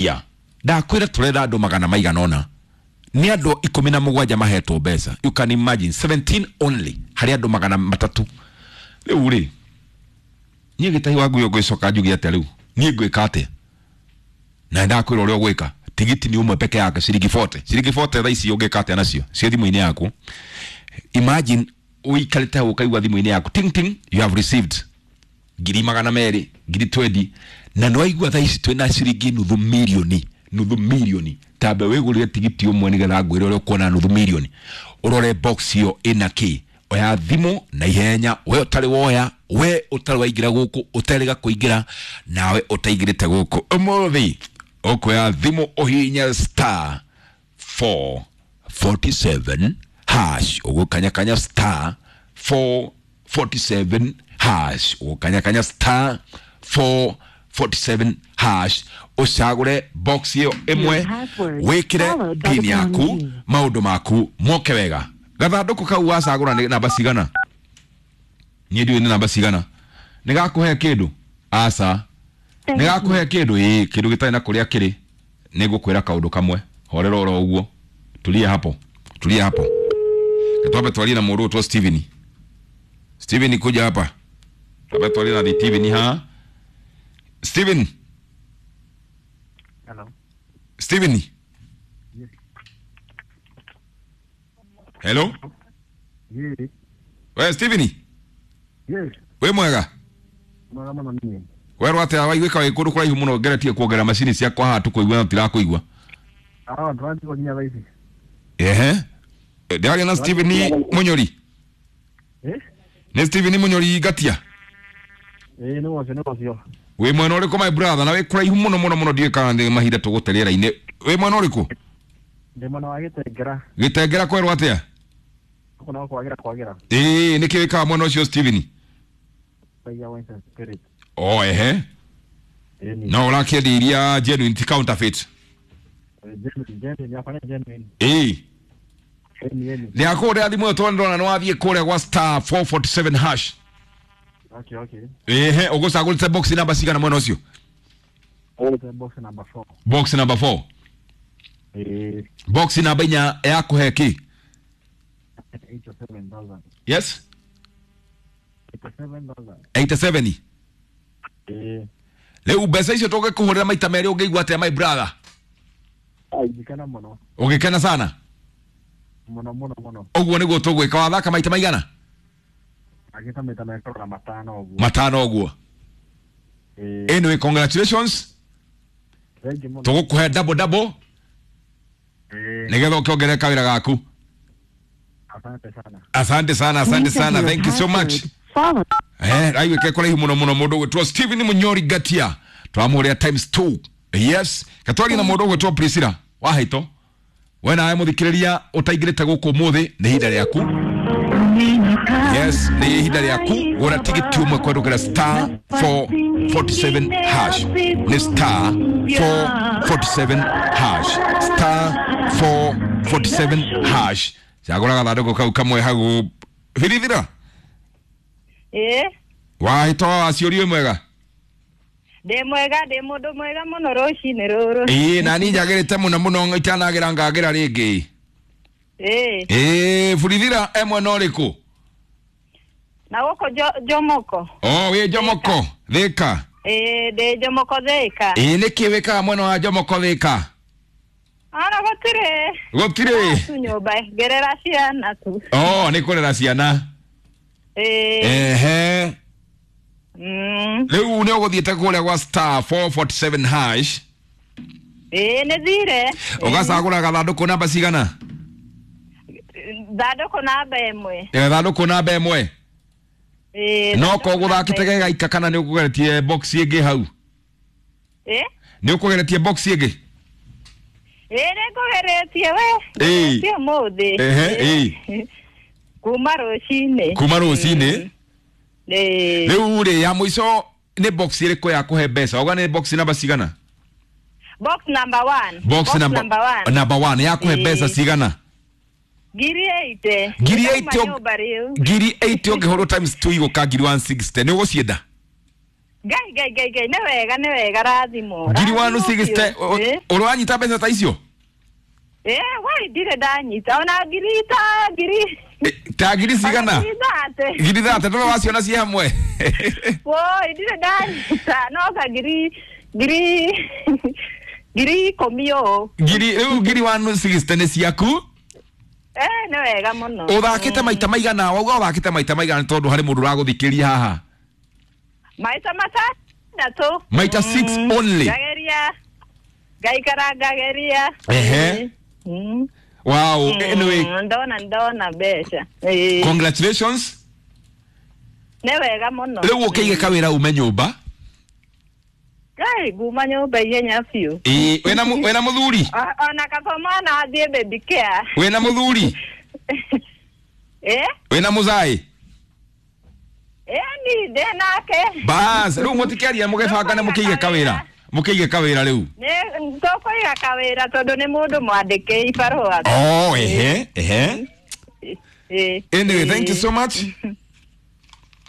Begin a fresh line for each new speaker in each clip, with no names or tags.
Ya ndakwĩra tũrenda andũ magana maigana ũna, nĩ andũ 17 mahetwo mbeca. You can imagine, 17 only harĩ andũ 300. Rĩu rĩ, niĩ gĩtahi wa ngui ngwĩcoka njuge atĩa? Rĩu niĩ ngwĩka atĩa? Na ndakwĩra ũrĩa ũgwĩka, tigiti nĩ ũmwe peke yake, ciringi 40, ciringi 40. Thaa ici ũngĩka atĩa nacio ciĩ thimũ-inĩ yaku? Imagine ũikarĩte hau ũkaigua thimũ-inĩ yaku ting ting, you have received 200,000, ngiri 20. Na nĩ waigua thaa ici twĩna ciringi nuthu milioni, nuthu milioni. Tambe wĩgũrĩre tigiti ũmwe nĩgetha ngwĩre ũrĩa ũkuona nuthu milioni. Ũrore box ĩyo ĩna kĩ. Oya thimũ na ihenya, we ũtarĩ woya, we ũtarĩ waingĩra gũkũ, ũterĩga kũingĩra, nawe ũtaingĩrĩte gũkũ ũmũthĩ, ũkuoya thimũ ũhihinye star 447 hash. Ũgũkanyakanya star 447 hash, ũgũkanyakanya star 447 hash, ũcagũre box ĩyo ĩmwe, wĩkĩre pin yaku, maũndũ maku moke wega. Gathandũkũ kau wacagũra nĩ namba cigana? Niĩ ndiũĩ nĩ namba cigana. Nĩ gakũhe kĩndũ? Aca, nĩ gakũhe kĩndũ? Ĩĩ, kĩndũ gĩtarĩ na kũrĩa kĩrĩ. Nĩ ngũkwĩra kaũndũ kamwe, horera oro ũguo, tulia hapo, tulia hapo. Twambe twarie na mũndũ ũtwo Steven. Steven, kuja hapa, twambe twarie na Steven ha. Steven.
Hello.
Steven.
Yes.
Hello.
Yes.
We Steven.
Yes.
Wĩ mwega?
Mwega mũno niĩ.
Werwo atĩa? Waiguĩka wĩ kũndũ kũraihu mũno, ngeretie kuongerera macini ciakwa haha tũkũigua no tirakũigua.
Ah, ndĩranjigua nginya thaa ici.
Ehe, ndĩraria na Steven Munyori?
Eh?
Nĩ Steven Munyori Ngatia?
Ĩĩ, nĩ ũcio, nĩ ũcio.
Wĩ mwena ũrĩkũ, my brother? Na wĩ kũraihu mũno mũno mũno, ndiũĩ kana nĩ mahinda tũgũte rĩera-inĩ. Wĩ mwena ũrĩkũ?
Ndĩ mwena wa Gĩtengera.
Gĩtengera kwerwo atĩa?
Gũkũ no kwagĩra kwagĩra.
Ĩĩ, nĩkĩ wĩkaga mwena ũcio, Steven?
Thaia wines and spirit.
O ehe.
Ĩĩ ni.
No ũrakĩendia iria genuine, ti counterfeit?
Genuine, genuine, yakwa nĩ genuine.
Ĩĩ.
Ĩni, ĩni.
Ndĩrakũrĩa thimũ ĩyo tondũ ndĩrona nĩ wathiĩ kũrĩa gwa star 447 hash.
Okay.
Ehe, ũgũcagũrĩte box namba cigana mwena ũcio?
Ũgũte box number 4.
Box number 4?
Ĩĩ.
Box namba inya yakũhe kĩ?
87,000.
Yes.
87,000.
87?
Ĩĩ.
Rĩu mbeca icio tũngĩkũhũrĩra maita merĩ ũngĩigua atĩa, my brother?
Ingĩkena mũno.
Ũgĩkena sana?
Mũno mũno mũno.
Ũguo nĩguo tũgwĩka. Wathaka maita maigana?
Agĩta maita merĩ na matano ũguo.
Matano ũguo.
Ĩĩ.
Anyway, congratulations.
Thank you mũno.
Tũgũkũhe double double.
Ĩĩ.
Nĩgetha ũkĩongerere kawĩra gaku.
Asante sana.
Asante sana, asante sana, thank you so much. Eh, raiguĩke kũraihu mũno mũno mũndũ ũgwĩtwo Steven Munyori Ngatia, twamũrĩa times 2. Yes, katwaria na mũndũ ũgwĩtwo Priscilla Wahaito. We nawe mũthikĩrĩria ũtaingĩrĩte gũkũ ũmũthĩ, nĩ ihinda rĩaku. Yes, nĩ ihinda rĩaku gũra tigiti ũmwe kwendũkĩra star 447 hash. Nĩ star 447 hash, star 447 hash. Cagũra gathandũkũ kau kamwe hau birithira.
Ĩĩ.
Wahĩto waciũrio, mwega?
Ndĩ mwega, ndĩ mũndũ mwega mũno rũcinĩ rũrũ.
Ĩĩ, nani njagĩrĩte mũno mũno, itanagĩra ngagĩra rĩngĩ.
Ĩĩ.
Ĩĩ, burithira e mwena ũrĩkũ?
Na gũkũ Jomoko.
O wĩ Jomoko Thĩka?
Ĩĩ, ndĩ Jomoko Thĩka.
Ĩĩ, nĩkĩ wĩkaga mwena wa Jomoko Thĩka?
Ona gũtirĩ.
Gũtirĩ?
Tu nyũmba ngerera ciana tu.
O nĩ kũrera ciana?
Ĩĩ.
Ehe. Rĩu nĩ ũgũthiĩte kũrĩa gwa star 447 hash?
Ĩĩ, nĩ thire.
Ũgacagũra gathandũkũ namba cigana?
Thandũkũ namba 1.
Gathandũkũ namba 1?
Ĩĩ.
No ko ũgũthakĩte gegaika kana nĩ ũkũgeretie box ĩngĩ hau?
Ĩĩ.
Nĩ ũkũgeretie box ĩngĩ?
Ĩĩ, nĩ ngũgeretie we.
Ĩĩ.
Ngeretie ũmũthĩ.
Ehe, ĩĩ.
Kuma rũcinĩ.
Kuma rũcinĩ?
Ĩĩ.
Rĩu rĩ, ya mũico nĩ box ĩrĩkũ ya kũhe mbeca? Auga nĩ box namba cigana?
Box number 1.
Box number
1.
Number 1 ya kũhe
Ĩĩ.
mbeca cigana?
Ngiri 80.
Ngiri
Ndauma
80.
nyũmba rĩu.
Ngiri 80 ũngĩhũrwo times 2 igũka ngiri 160. Nĩ ũgũcienda?
Ngai ngai ngai ngai, nĩ wega nĩ wega, rathimo.
Ngiri 160 ũranyita mbeca ta icio?
Wai ndirĩ ndanyita ona ngiri ta ngiri.
Ta ngiri cigana?
Ngiri 30.
Ngiri 30 ndũrĩ waciona ciĩ hamwe?
Woi ndirĩ ndanyita no ka ngiri ngiri ngiri 10 ũũ.
Ngiri rĩu ngiri 160 nĩ ciaku?
Nĩ wega mũno.
Ũthakĩte maita maigana? Wauga ũthakĩte maita maigana tondũ harĩ mũndũ ũragũthikĩria haha?
Maita matandatũ.
Maita 6 only.
Ngageria. Ngaikara ngageria.
Ehe. Wow, anyway,
ndona mbeca.
Congratulations.
Nĩ wega mũno.
Rĩu ũkĩige kawĩra ume nyũmba?
Ngai nguma nyũmba ihenya biũ.
Ĩĩ, wĩna mũthuri?
Ona kaba mwana athiĩ baby care.
Wĩna mũthuri? Wĩna mũzaĩ?
Ni ndĩ nake.
Bas, rĩu mũtikĩaria mũgĩbangane mũkĩige kawĩra. Mũkĩige kawĩra rĩu.
Nĩ tũkũiga kawĩra tondũ nĩ mũndũ mwandĩke ibarũa.
Oh, ehe, ehe. Anyway, thank you so much.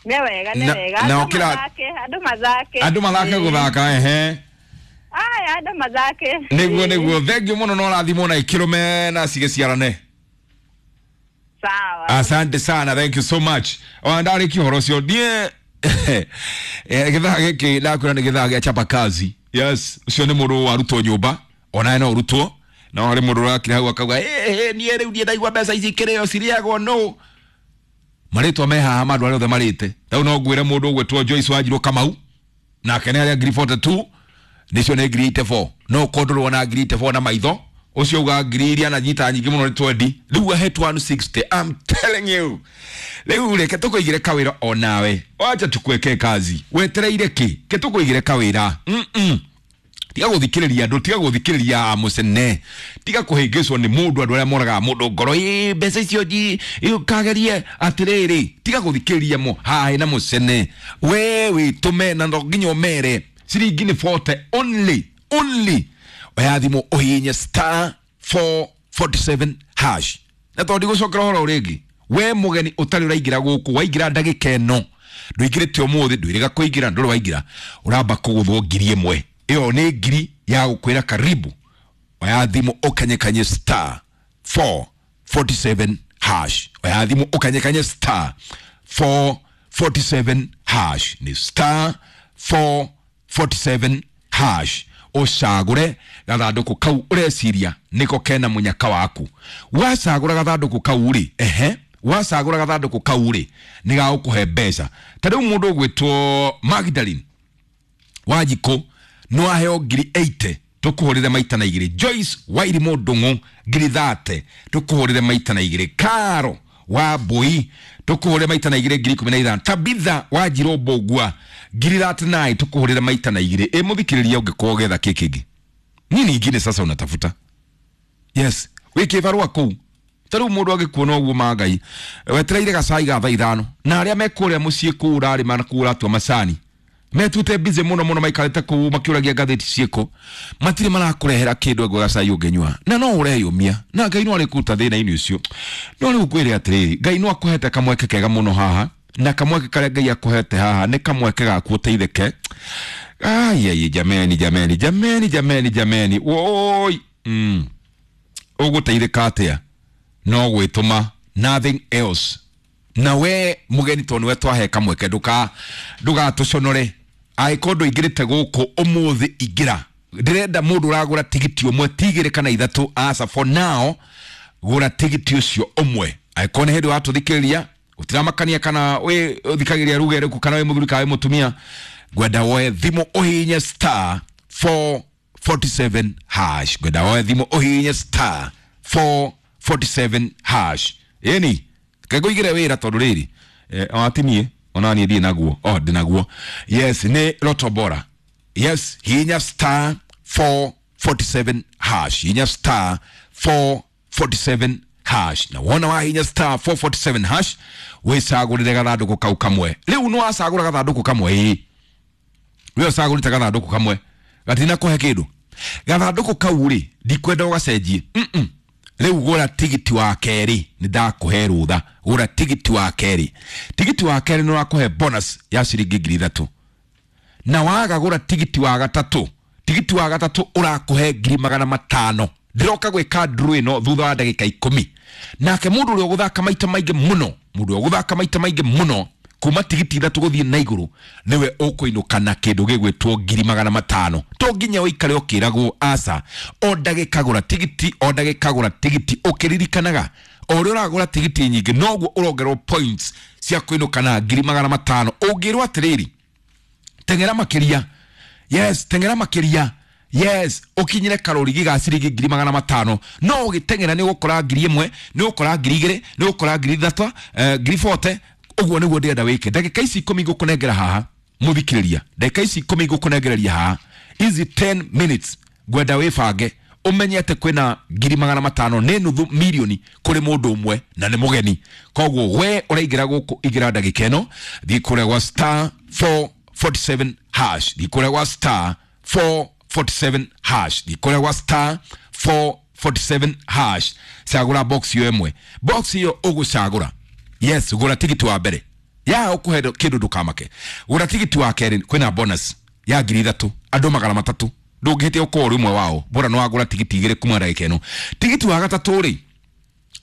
Nĩ wega, nĩ wega.
Na ũkĩra
andũ mathake.
Andũ mathake gũthaka, ehe.
Aya, andũ mathake.
Nĩguo, nĩguo. Thank you mũno, no ũrathimwo na ikĩrũme na cigĩciarane.
Sawa.
Asante sana, thank you so much. Ona ndarĩkia ũhoro ũcio niĩ gĩthaa gĩkĩ ndakwĩra nĩ gĩthaa gĩa chapa kazi. Yes, ũcio nĩ mũndũ warutwo nyũmba, onawe no ũrutwo. No harĩ mũndũ ũrakire hau akauga, niĩ rĩu niĩ ndaigua mbeca ici ikĩrĩo cirĩagwo no. Marĩtwa me haha ma andũ arĩa othe marĩte. Rĩu no ngwĩre mũndũ ũgwĩtwo Joyce Wanjirũ Kamau, nake nĩ harĩa ngiri 42, nĩcio nĩ ngiri 84. No ũkorwo ndũrona ngiri 84 na maitho, ũcio uga ngiri iria ananyita nyingĩ mũno nĩ 20. Rĩu ahetwo 160, I'm telling you. Rĩu reke tũkũigĩre kawĩra onawe. Wacha tukweke kazi. Wetereire kĩ? Ke tũkũigĩre kawĩra. Tiga gũthikĩrĩria andũ, tiga gũthikĩrĩria mũcene, tiga kũhĩngĩcwo nĩ mũndũ, andũ arĩa moragaga mũndũ ngoro, ĩ mbeca icio ũkagerie atĩrĩrĩ, tiga gũthikĩrĩria mo haha na mũcene. We wĩtũme na no nginya ũmere ciringi nĩ 40 only, only. Oya thimũ ũhihinye star 447 hash. Na tondũ ndigũcokera ũhoro rĩngĩ, we mũgeni ũtarĩ ũraingĩra gũkũ, waingĩra ndagĩka ĩno, ndũingĩrĩte ũmũthĩ, ndwĩrĩga kũingĩra, ndũrĩ waingĩra, ũramba kũgũthwo ngiri ĩmwe. Ĩyo nĩ ngiri ya gũkwĩra karibu. Oya thimũ ũkanyekanye star 447 hash. Oya thimũ ũkanyekanye star 447 hash. Ni star 447 hash. Ũcagũre gathandũkũ kau ũreciria nĩko kena mũnyaka waku. Wacagũra gathandũkũ kau rĩ, ehe, wacagũra gathandũkũ kau rĩ, nĩ gagũkũhe mbeca. Ta rĩu mũndũ ũgwĩtwo Magdalene Wanjikũ no aheo ngiri 80 tũkũhũrĩre maita na igĩrĩ. Joyce Wairimũ Ndung'u ngiri 30 tũkũhũrĩre maita na igĩrĩ. Karo wa Mbui tũkũhũrĩre maita na igĩrĩ ngiri 15. Tabitha Wanjirũ Mbũgua ngiri 39 tũkũhũrĩre maita na igĩrĩ. Ĩ mũthikĩrĩria ũngĩkorwo ũgĩetha kĩ kĩngĩ? Nini ingine sasa unatafuta? Yes, wĩ kĩbarũa kũu. Ta rĩu mũndũ angĩkuona ũguo ma Ngai, wetereire gacai ga thaa ithano, na arĩa me kũrĩa mũciĩ kũu ũrarĩma na kũu ũratua macani, metute busy mũno mũno maikarĩte kũu makĩũragia ngathĩti ciĩkũ, matirĩ marakũrehera kĩndũ ĩngwe gacai ũngĩnyua, na no ũreyũmia, na Ngai no arĩkũruta thĩna-inĩ ũcio. No rĩu ngwĩre atĩrĩrĩ, Ngai no akũhete kamweke kega mũno haha, na kamweke karĩa Ngai akũhete haha nĩ kamweke gaku ũteithĩke. Ai, jameni, jameni, jameni, jameni, jameni, woi. Ũgũteithĩka atĩa? No gwĩtũma, nothing else. Na we mũgeni tondũ nĩwe twahe kamweke, ndũgatũconore. Angĩkorwo ndũingĩrĩte gũkũ ũmũthĩ, ingĩra. Ndĩrenda mũndũ ũragũra tigiti ũmwe, ti igĩrĩ kana ithatũ, aca, for now gũra tigiti ũcio ũmwe. Angĩkorwo nĩ hĩndĩ watũthikĩrĩria, gũtiramakania kana wĩ ũthikagĩrĩria ruga ĩrĩkũ, kana wĩ mũthuri kana wĩ mũtumia, ngwenda woe thimũ ũhihinye star 447 hash. Ngwenda woe thimũ ũhihinye star 447 hash. Ĩni kengũigĩre wĩra tondũ rĩrĩ, atimie ona niĩ ndirĩ naguo. Oh, ndĩ naguo. Yes, nĩ Lotto Bora. Yes, hihinya star 447 hash. Hihinya star 447 hash. Na wona wahihinya star 447 hash, wĩcagũrĩre gathandũkũ kau kamwe. Rĩu nĩ wacagũra gathandũkũ kamwe, ĩĩ. We ũcagũrĩte gathandũkũ kamwe, gatina kũhe kĩndũ. Gathandũkũ kau rĩ, ndikwenda ũgacenjie. Rĩu gũra tigiti wa kerĩ, nĩ ndakũhe rũtha. Gũra tigiti wa kerĩ. Tigiti wa kerĩ nĩ ũrakũhe bonus ya ciringi ngiri ithatũ. Na waga gũra tigiti wa gatatũ, tigiti wa gatatũ ũrakũhe 500,000. Ndĩroka gwĩka draw ĩno thutha wa ndagĩka 10. Nake mũndũ ũrĩa ũgũthaka maita maingĩ mũno, mũndũ ũrĩa ũgũthaka maita maingĩ mũno kuma tigiti 3 gũthiĩ na igũrũ nĩwe ũkũinũka na kĩndũ gĩgwĩtwo 500,000. To nginya ũikare ũkĩragwo aca, o ndagĩka gũra tigiti, o ndagĩka gũra tigiti, ũkĩririkanaga o ũrĩa ũragũra tigiti nyingĩ noguo ũrongerwo points cia kũinũka na 500,000. Ũngĩrwo atĩrĩrĩ, teng'era makĩria, yes, teng'era makĩria, yes, ũkinyire karũrigi ga ciringi 500,000. No ũgĩteng'era nĩ ũgũkora 1,000, nĩ ũgũkora 2,000, nĩ ũgũkora 3,000, 40,000. Ũguo nĩguo ndĩrenda wĩke. Ndagĩka ici 10 ngũkũnengera haha, mũthikĩrĩria, ndagĩka ici 10 ngũkũnengereria haha, ici 10 minutes ngwenda wĩbange ũmenye atĩ kwĩna 500,000 nĩ nuthu milioni kũrĩ mũndũ ũmwe na nĩ mũgeni. Koguo we ũraingĩra gũkũ, ingĩra ndagĩka ĩno, thiĩ kũrĩa gwa star 447 hash, thiĩ kũrĩa gwa star 447 hash, thiĩ kũrĩa gwa star 447 hash, cagũra box ĩyo ĩmwe. Box ĩyo ũgũcagũra, yes, gũra tigiti wa mbere ya ũkũhe kĩndũ ndũkamake. Gũra tigiti wa kerĩ, kwĩna bonus ya 3,000, andũ 300, ndũngĩhĩtia ũkorwo ũrĩ ũmwe wao, bora nĩ wagũra tigiti 2 kuma ndagĩka ĩno. Tigiti wa gatatũ rĩ,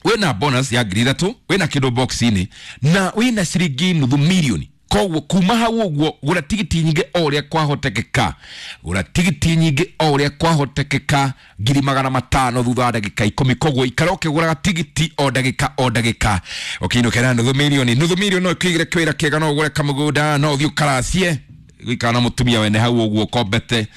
wĩna bonus ya 3,000, wĩna kĩndũ box-inĩ na wĩna ciringi nuthu milioni. Koguo kuma hau ũguo gũra tigiti nyingĩ o ũrĩa kwahotekeka, gũra tigiti nyingĩ o ũrĩa kwahotekeka 500,000 thutha wa ndagĩka 10. Koguo ikara ũkĩgũraga tigiti o ndagĩka o ndagĩka, ũkĩinũkĩra nuthu milioni. Nuthu milioni no ĩkũigĩre kĩwĩra kĩega, no ũgũre kamũgũnda, no ũthiĩ ũkaracie gũikara na mũtumia wene hau ũguo ũkombete,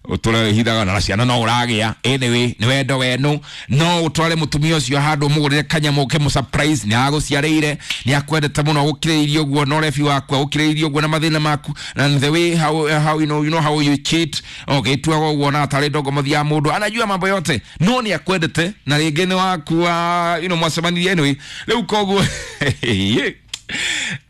ũtũre hithaga na ciana no ũragĩa. Anyway, nĩ wendo wenu, no ũtware mũtumia ũcio handũ ũmũgũrĩre kanyamũ ũkĩmũ surprise, nĩ agũciarĩire, nĩ akwendete mũno, agũkirĩrĩirie ũguo na ũrebi waku, agũkirĩrĩirie ũguo na mathĩna maku, and the way how you know, you know how you cheat, ũgĩtuaga ũguo na atarĩ ndongomothi ya mũndũ, anajua mambo yote, no nĩ akwendete na rĩngĩ nĩ wakua, you know, mwacemanirie anyway. Rĩu koguo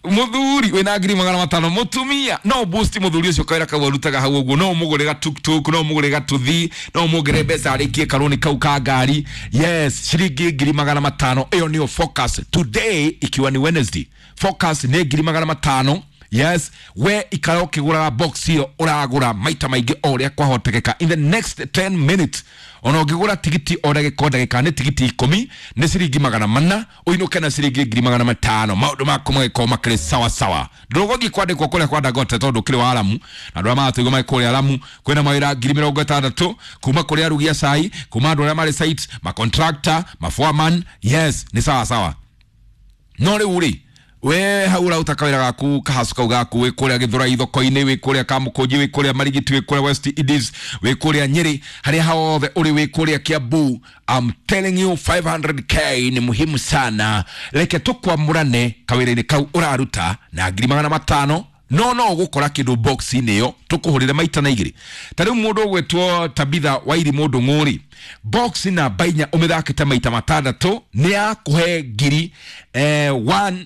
muthuri wĩna 500,000, mũtumia no boost mũthuri ũcio kawĩra kau arutaga hau ũguo, no ũmũgũre gatuktuk, no ũmũgũre gatuthi, no ũmũgĩre mbeca arĩkie karũni kau ka ngari. Yes, ciringi 500,000 ĩyo nĩyo focus today, ikiwa ni Wednesday. Focus nĩ 500,000. Yes, we ikara ũkĩgũraga box ĩyo ũragũra maita maingĩ o ũrĩa kwahotekeka. In the next 10 minutes ona ũngĩgũra tigiti o ndagĩka o ndagĩka nĩ tigiti 10 nĩ ciringi 400, ũinũke na ciringi 500,000. Maũndũ maku magĩkorwo makĩrĩ sawa sawa. Ndũgũthiĩ kwandĩkwo kũrĩa kwa Dangote tondũ ũkĩrĩ wa Aramu, na andũ arĩa maratũigua marĩ kũrĩa Aramu kwĩna mawĩra 60,000 kuma kũrĩ arugi a cai, kuma andũ arĩa marĩ site, macontractor, maforeman. Yes, nĩ sawa sawa. No rĩu rĩ, we hau ũraruta kawĩra gaku kahacu kau gaku, wĩ kũrĩa Gĩthũrai thoko-inĩ, wĩ kũrĩa Kamũkũnji, wĩ kũrĩa Marigiti, wĩ kũrĩa West Indies, wĩ kũrĩa Nyĩrĩ, harĩa hothe ũrĩ, wĩ kũrĩa Kiambu, I'm telling you 500k ni muhimu sana. Reke tũkwamũrane kawĩra-inĩ kau ũraruta na 500,000, no no ũgũkora kĩndũ box-inĩ ĩyo tũkũhũrĩre maita na igĩrĩ. Ta rĩu mũndũ ũgwĩtwo Tabitha Wairi mũndũ ng'ũri, box namba 4 ũmĩthakĩte maita 6 nĩ yakũhe ngiri 120,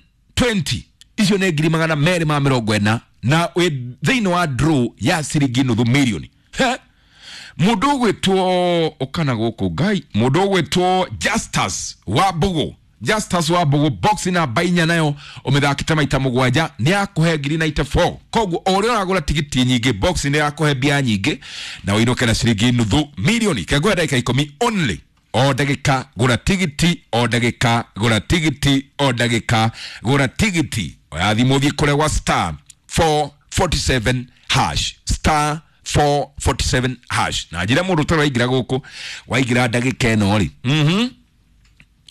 icio nĩ 240,000, na wĩ thĩinĩ wa draw ya ciringi nuthu milioni. Mũndũ ũgwĩtwo ũkana gũkũ Ngai, mũndũ ũgwĩtwo Justus wa Mbũgũ, Justus wa Mbũgũ, box namba 4 nayo ũmĩthakĩte maita 7 nĩ yakũhe 94,000. Koguo o ũrĩa ũragũra tigiti nyingĩ, box nĩ yakũhe mbia nyingĩ na ũinũke na ciringi nuthu milioni. Kengũhe ndagĩka 10 only. O ndagĩka gũra tigiti, o ndagĩka gũra tigiti, o ndagĩka gũra tigiti. Oya thimũ ũthiĩ kũrĩa gwa star 447 hash, star 447 hash. Na njĩra mũndũ ũtarĩ waingĩra gũkũ, waingĩra ndagĩka ĩno rĩ,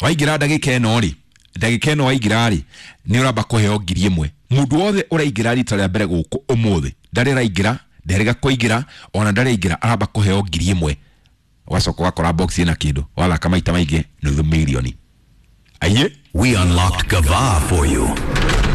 waingĩra ndagĩka ĩno rĩ, ndagĩka ĩno waingĩra rĩ, nĩ ũramba kũheo 1,000. Mũndũ wothe ũraingĩra rita rĩa mbere gũkũ ũmũthĩ, ndarĩ araingĩra, nderĩga kũingĩra, ona ndarĩ aingĩra, aramba kũheo 1,000. Ũgacoka ũgakora box ĩna kĩndũ, wathaka maita maingĩ nuthu milioni. Aiye?
We unlocked Gava for you.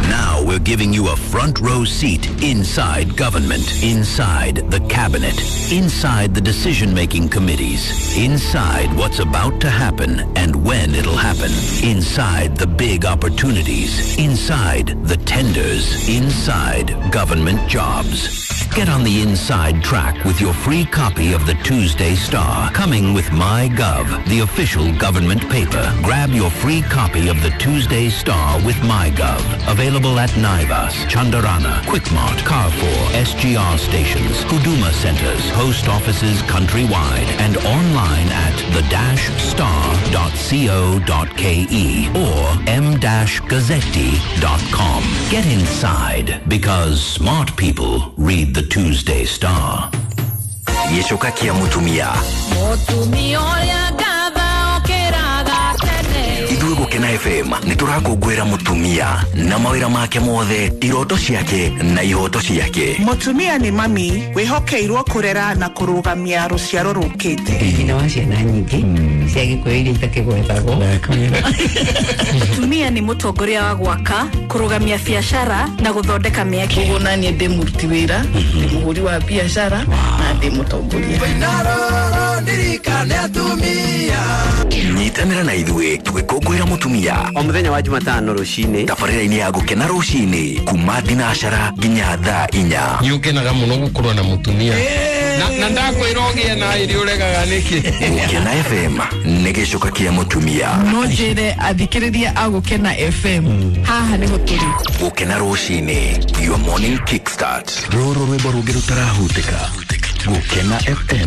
Now we're giving you a front row seat inside government, inside the cabinet, inside the decision-making committees, inside what's about to happen and when it'll happen, inside the big opportunities, inside the tenders, inside government jobs. Get on the inside track with your free copy of the Tuesday Star, coming with MyGov, the official government paper. Grab your free copy of the Tuesday Star with MyGov. Available at Naivas, Chandarana, Quickmart, Carrefour, SGR stations, Huduma centers, post offices countrywide, and online at the-star.co.ke or m-gazzetti.com. Get inside because smart people read the Tuesday Star.
Gĩcoka kĩa mũtumia.
Mũtumia ũrĩa ngatha okĩraga tene.
Ithuĩ Gũkena FM nĩ tũrakũngũĩra mũtumia na mawĩra make mothe, iroto ciake na ihoto ciake.
Mũtumia nĩ mami wĩhokeirwo kũrera na kũrũgamia rũciaro rũkĩte.
Nyina wa ciana nyingĩ cia gĩkũyũ iria itakĩgwetagwo.
Mũtumia nĩ mũtongoria wa gwaka, kũrũgamia biacara na gũthondeka mĩeke.
Koguo naniĩ ndĩ mũruti wĩra, ndĩ mũhũri wa biacara na ndĩ mũtongoria.
Nyitanĩra na ithuĩ tũgĩkũngũĩra mũtumia
o mũthenya wa Jumatano rũcinĩ
tabarĩra-inĩ ya Gũkena rũcinĩ kuma thinacara nginya thaa 4.
Nĩ ũkenaga mũno gũkorwo na mũtumia na ndakwĩra ũgĩe na ĩrĩ ũregaga nĩkĩ.
Gũkena FM nĩ gĩcoka kĩa mũtumia.
No njĩre athikĩrĩria a Gũkena FM haha nĩho tũrĩ.
Gũkena rũcinĩ, your morning kickstart. Rũrũ rwĩmbo rũngĩ rũtarahutĩka. Gũkena FM.